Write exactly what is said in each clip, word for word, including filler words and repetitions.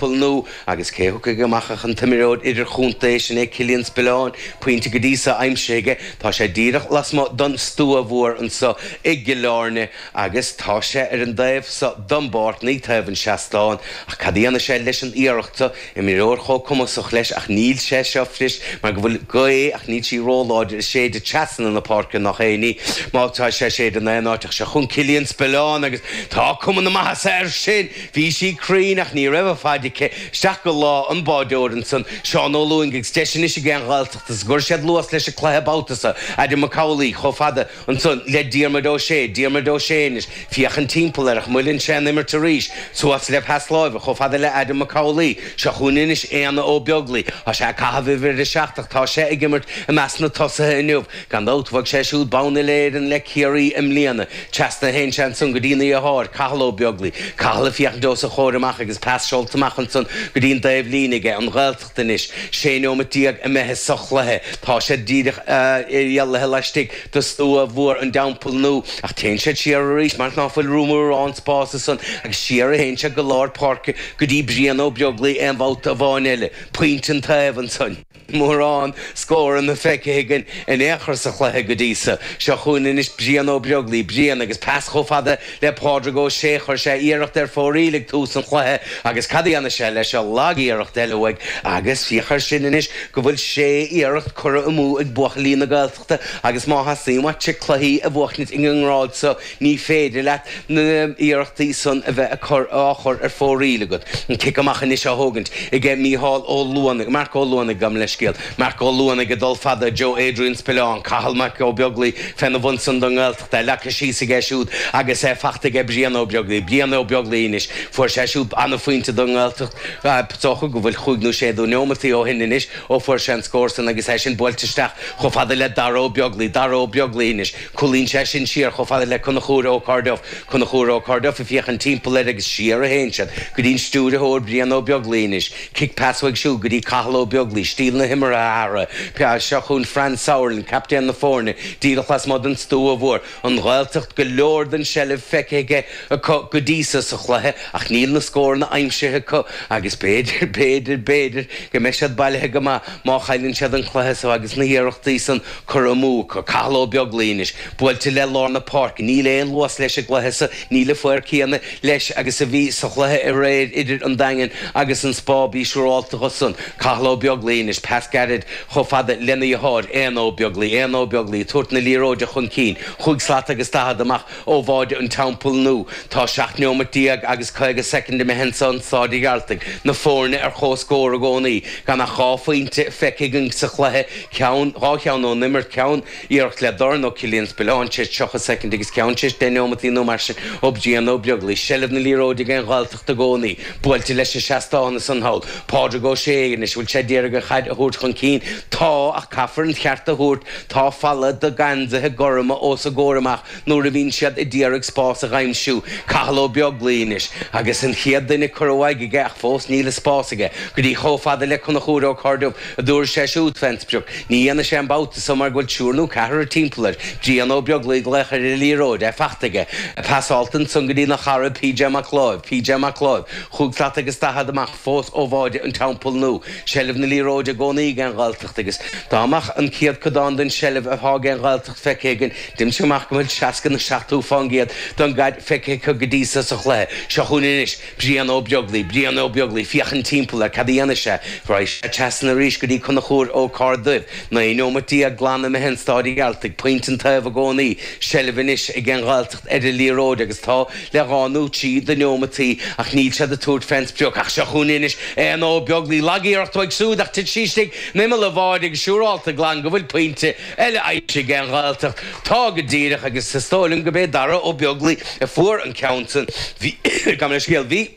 Teampall Nua agus cé thiocfaidh amach ach an t-imreoir idirchontae sin é Cillian Spillane, pointe go dtí seo aimsithe aige. Tá sé díreach lasmuigh don stua mhór anseo i gCill Airne agus tá sé ar an dtaobh seo don bpáirc, ní taobh an seastáin. Ach cad a dhéanfaidh sé leis an iarracht seo? Imreoir chomh cumasach leis ach níl sé seo fuirist mar go bhfuil gaoth ach níl sí róláidir ag séideadh trasna na páirce nach aon ní má tá sé ag séideadh in aon áit ach seo chugainn Cillian Spillane agus tá cuma na maitheasa air sin! Bhí sí cruinn ach ní raibh a fad aici isteach go lámh an bháideoir ansan, Seán Ó Lúing agus deis anois ag an Ghaeltacht is go gcuirfidh siad luas leis an cluiche babhta seo, Adam Mac Amhlaigh chomh fada ansan le Diarmuid Ó Sé, Diarmuid Ó Sé anois, féachann timpeall air ach moilleann sé an imirt arís, suas le pas láimhe chomh fada le Adam Mac Amhlaigh, seo chugainn anois Éanna Ó Beaglaoi, tá sé ag caitheamh uimhir a seacht ach tá sé ag imirt i measc na tosaithe inniu. Gan dabht bhuaigh sé siúd bonn uile-Éireann le Ciarraí i mbliana. Trasna a théann sé ansan go dtína dheartháir, Cathal Ó Beaglaoi. Cathal ag féachaint os a chomhair amach agus pas seolta amach ansan go dtí'n dtaobh líne aige, an Ghaeltacht anois. Sé neomat déag imithe sa chluiche. Tá siad díreach rialaithe laistigh de stua mhór an Teampaill Nua ach téann siad siar arís mar ná fuil mórán spáis ansan agus siar a théann siad go lár páirce go dtí Brian Ó Beaglaoi aon bhabhta amháin eile. Pointe an taobh ansan. Mórán scóranna feicthe againn in aon chor sa chluiche go dtí seo. Seo chugainn anois Brian Ó Beaglaoi, Brian agus pas chomh fada le Pádraig Ó Sé. Chuir sé iarracht ar fóraoil ag tús an chluiche agus cad a dhéanfaidh sé leis seo? Lag-iarracht eile uaidh agus féach air sin anois go bhfuil sé iarracht curtha amú ag buachaillí na Gaeltachta agus má theastaíonn uait cluichí a bhuachaint ag an ngrád seo ní féidir leat na hiarrachtaí san a bheith á chur ar fóraoil agat. An cic amach anois á thógaint aige Mícheál Ó Luanaigh, Marc Ó Luanaigh, gabh mo leithscéal, Marc Ó Luanaigh ag dul fada, Joe Adrian Spillane, Cathal Mac Ó Beaglaoi féna bhun san don nGaeltacht, é leagtha síos aige siúd agus é fachta aige Brian Ó Beaglaoi, Brian Ó Beaglaoi anois, fuair sé siúd an-phointe don nGaeltacht, is dócha go bhfuil chúig nó sé de neomataí ó shin anois ó fuair sé an scór san agus é sin buailte isteach chomh fada le Dara Ó Beaglaoi, Dara Ó Beaglaoi anois. Cúlaíonn sé sin siar chomh fada le Conchúr Ó Cairdeof, Conchúr Ó Cairdeof ag féachaint timpeall air agus siar a théann siad go dtí'n stiúrthóir Brian Ó Beaglaoi anois. Cic pas uaidh siúd go dtí Cathal Ó Beaglaoi, stíl na himeartha a athrú. Seo chugainn Fran Sauerland, captaen na foirne, díreach lasmuigh den stua mhór. An Ghaeltacht, go leor den tseilbh feicthe aige acu go dtí so sa chluiche ach níl na scóranna aimsithe acu agus b'fhéidir, b'fhéidir, b'fhéidir go mbeidh siad bailithe go maith má chailleann siad an cluiche so agus na hiarrachtaí san curtha amú acu. Cathal Ó Beaglaoi anois, buailte le lár na páirce. Níl aon luas leis an gcluiche so, níl an fóir céanna leis agus a bhí sa chluiche aréir idir an Daingean agus an Spá. Bí siúrálta dho san. Cathal Ó Beaglaoi anois, pas gairid chomh fada lena dheartháir, Éanna Ó Beaglaoi. Éanna Ó Beaglaoi ag tabhairt na liathróide chun cinn, chúig slat agus daichead amach ó bháide an Teampaill Nua. Tá seacht neomat déag agus caoga soicind imithe anso in Staid an Ghearaltaigh. Na foirne ar comhscór i gcónaí, gan ach dhá phointe feicthe againn sa chluiche, ceann, dhá cheann ón imirt, ceann, iarracht le dorn ó Cillian Spillane tar éis tríocha soicind agus ceann tar éis deich neomataí nó mar sin ó Brian Ó Beaglaoi. Seilbh na liathróide ag an Ghaeltacht i gcónaí. Buailte leis an seastán ansan thall. Pádraig Ó Sé anois, bhfuil sé d'iarraidh an chaid a thabhairt chun cinn? Tá, ach caithfear an ceart a thabhairt, tá falla de gheansaithe gorma os a gcomhair amach nuair a bhíonn siad a d'iarraidh spás a dh'aimsiú. Cathal Ó Beaglaoi anois agus an chéad duine curtha uaidh aige ach fós níl an spás aige go dtí chomh fada le Conchúr Ó Cairdeof a dtabharfaidh sé siúd fén sprioc. Ní dhéanfaidh sé an babhta so mar go bhfuil triúr nó ceathrar timpeall air. Brian Ó Beaglaoi ag glaoch ar an liathróid, é fachta aige. Pasáilte ansan go dtína chara PJ Mac Láimh. PJ Mac Láimh. Chúig slat agus daichead amach fós ó bháide an Teampaill Nua. Seilbh na liathróide i gcónaí ag an Ghaeltacht agus dá mbeadh an céadchodán den tseilbh atá ag an Ghaeltacht feicthe againn, deirimse amach go bhfuil seasca nó seachtó fán gcéad den gcaid feicthe acu go dtí so sa chluiche. Seo chugainn anois Brian Ó Beaglaoi. Brian Ó Beaglaoi, féachann timpeall air, cad a dhéanfaidh sé? Raghaidh sé trasna arís go dtí Conchúr Ó Cairduibh. Naoi neomat déag glan imithe in Stáid an Ghearaltaigh. Pointe an taobh i gcónaí. Seilbh anois ag an Ghaeltacht ar an liathróid agus tá le dhá nó trí de neomataí ach níl siad ag tabhairt fén sprioc. Ach seo chugainn anois Éanna Ó Beaglaoi. Lag-iarracht uaidh siúd ach tit sí istigh in imeall an bháide agus siúrálta glan go bhfuil pointe eile aimsithe ag an Ghaeltacht. Tá go díreach agus is dóigh liom go b'é Dara Ó Beaglaoi a fuair an ceann san. Bhí, gabh mo leithscéal, bhí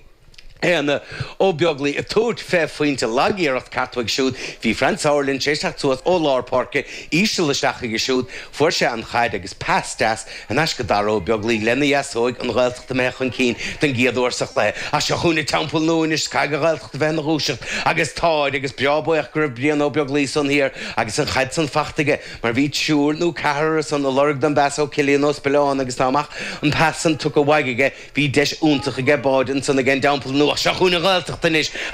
Éanna Ó Beaglaoi ag tabhairt fé phointe lag-iarracht ceart uaidh siúd. Bhí Fran Sauerland tar éis teacht suas ó lár páirce, íseal isteach aige siúd. Fuair sé an chaid agus pas deas thar n-ais go Dara Ó Beaglaoi lena dheasóig an Ghaeltacht imithe chun cinn den gcéad uair sa chluiche. Ach seo chugainn an Teampall Nua anois, caithfidh an Ghaeltacht a bheith ina dhúiseacht agus táid agus breá buíoch go raibh Brian Ó Beaglaoi san thiar agus an chaid san fachta aige mar bhí triúr nó ceathrar ansan ag lorg don bpas ó Cillian Ó Spilleáin agus dá mbeadh an pas san tugtha uaidh aige bhí deis iontach aige báide ansan ag an dTeampall Nua. Ach seo chugainn an Ghaeltacht anois